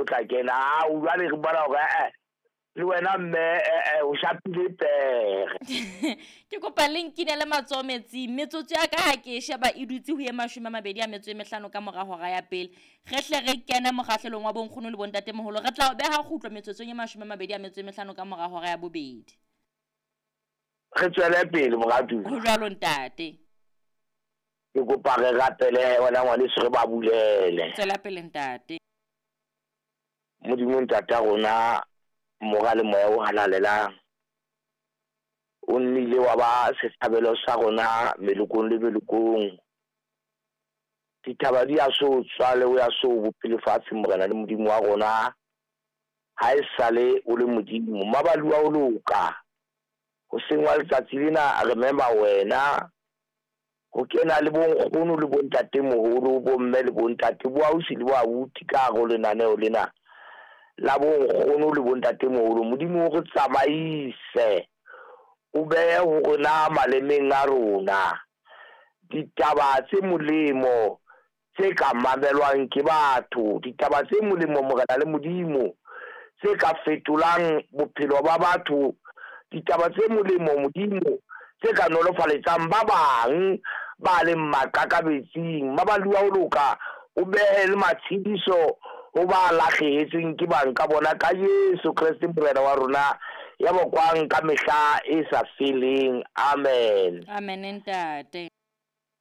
tla kena. Ao jwale re bona hore eh le wena mme o shapile pere. Ke kopa le nkinele matsoho metsing. Metsotso ya ka ha ke e sheba e dutse ho ye 25 ka mora hora ya pele. Re hle re kene mokgahlelong wa bonkgono le bontatemoholo. Re tla o beha kgutlo metsotsong e 25 ka mora hora ya bobedi. Re tswele pele moratuwa. Ho jwalo ntate. Ke kopa re rapele wena ngwaneso re ba bulele. Tswela pele ntate. Modimo ntata rona, Mora le Moya o halalelang, o nnile wa ba setshabelo sa rona melokong le melokong. Dithaba di a so tswale, o ya so bope lefatshe, Morena le Modimo wa rona. Ha e sale o le Modimo, mabalu a o loka. Hoseng wa letsatsi lena re mema wena ho kena le bonkgono le bontatemoholo, bomme le bontate, bo ausi le bo abuti ka hare ho lenaneo lena la bonkgono le bontatemoholo. Modimo o re tsamaise, o behe ho rona malemeng a rona ditaba tse molemo tse ka mamelwang ke batho, ditaba tse molemo Morena le Modimo tse ka fetolang bophelo ba batho, ditaba tse molemo Modimo tse ka nolofaletsang ba bang ba leng maqakabetsing. Mabalu a ho loka, o behe le matshediso ho ba lahlehetsweng ke bang ka bona ka Jesu Kreste Morena wa rona, ya bokwang ka mehla e sa feleng. Amen. Amen ntate.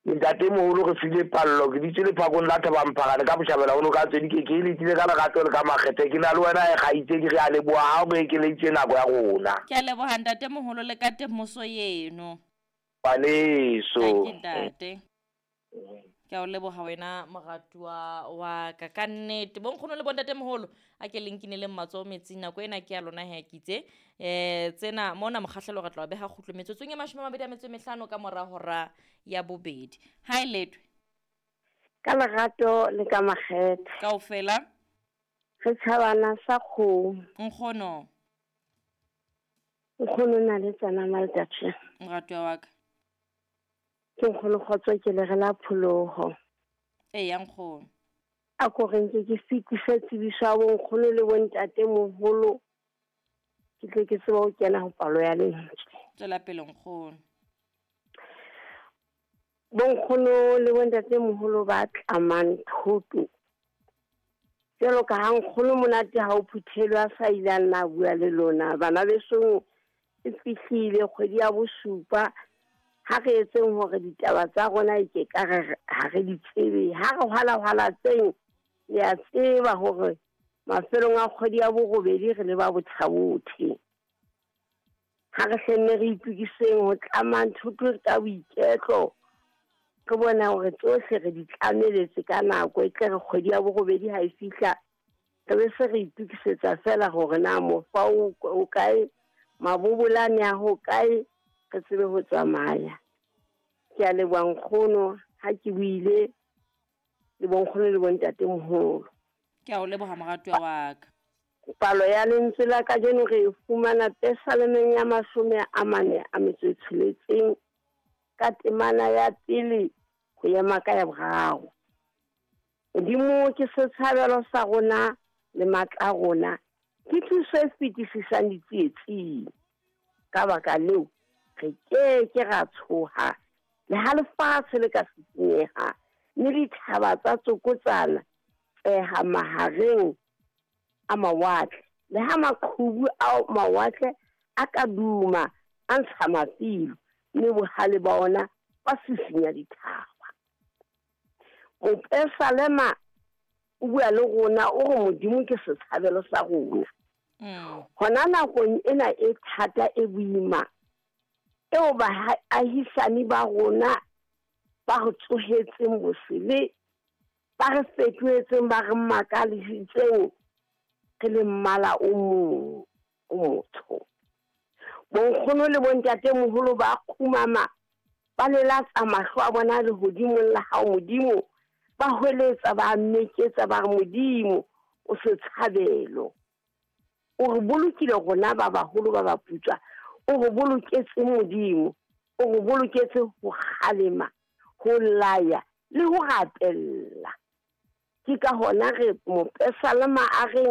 Ntatemoholo re file pallo, ke ditse lephakong la Thabamphagane ka botjhabela ho noka tse di ke ke letile ka lerato le ka makgethe. Ke na le wena e kgaitsedi, re a leboha ha o re ekeleditse nako ya rona. Ke a leboha ntatemoholo le ka temoso eno. Ngwaneso. Thank you ntate. Ke a o leboha wena moratuwa wa ka ka nnete. Bonkgono le bontatemoholo a ke le nkineleng matsoho metsing, nako ena ke ya lona he ke itse. Tsena mona mokgahlelo re tla o beha kgutlo metsotsong e 25 ka mora hora ya bobedi. Ha e letwe. Ka lerato le ka makgethe. Kaofela. Re tjhabana sa kgomo. Nkgono. Nkgono na le tsana maltatše. Moratuwa wa ka. Ke nkgono kgotso ke le re la pholoho. Eya nkgono. A ko re nke ke fetise tsebiso ya bonkgono le bontatemoholo, ke tle ke tsebe ho kena ho palo ya lentswe. Tswela pele nkgono. Bonkgono le bontatemoholo ba tlamang thoto. Jwalo ka ha nkgono monate ha o phuthelwe a sa ile a nna a bua le lona. Bana besong e fihlile kgwedi ya bosupa. Ha re etseng hore ditaba tsa rona e ke ka re ha re di tsebe. Ha re hwala-hwala tseng, le a tseba hore mafelong a kgwedi ya borobedi re le ba bothabothe. Ha re hlenne re itokiseng ho tlamang thoto ka boiketlo, re bona hore tsohle re di tlameletse ka nako, e tle re kgwedi ya borobedi ha e fihla re be se re itokisetsa fela hore na mofa o kae, mabobolane a ho kae, re tsebe ho tsamaya. Ke a leboha nkgono ha ke buile le bonkgono le bontatemoholo. Ke a o leboha moratuwa wa ka. Palo ya lentswe la kajeno re e fumana Pesalemeng ya 46 ka temana ya pele ho ema ka ya boraro. Modimo ke setshabelo sa rona le matla a rona, ke thuso e fetisisang ditsietsing. Ka baka leo re ke ke ra tshoha le ha lefatshe le ka sisinyeha, mme dithaba tsa tsokotsana tseha mahareng a mawatle, le ha maqhubu a mawatle a ka duma a ntsha mafilo, mme bohale ba ona ba sisinya dithaba. Mopesalema o bua le rona o re Modimo ke setshabelo sa rona. Hona nakong ena e thata e boima eo baahisani ba rona ba re tsohetseng bosele, ba re fetohetseng, ba re makaditseng re le mmala o mong o motsho. Bonkgono le bontatemoholo ba kgumama, ba lelatsa mahlo a bona lehodimong la hao Modimo, ba hweletsa, ba meketsa, ba re Modimo o setshabelo. O re bolokile rona ba baholo ba baputswa, o re boloketse Modimo, o re boloketse ho kgalema, ho laya le ho rapella. Ke ka hona re mopesalema a reng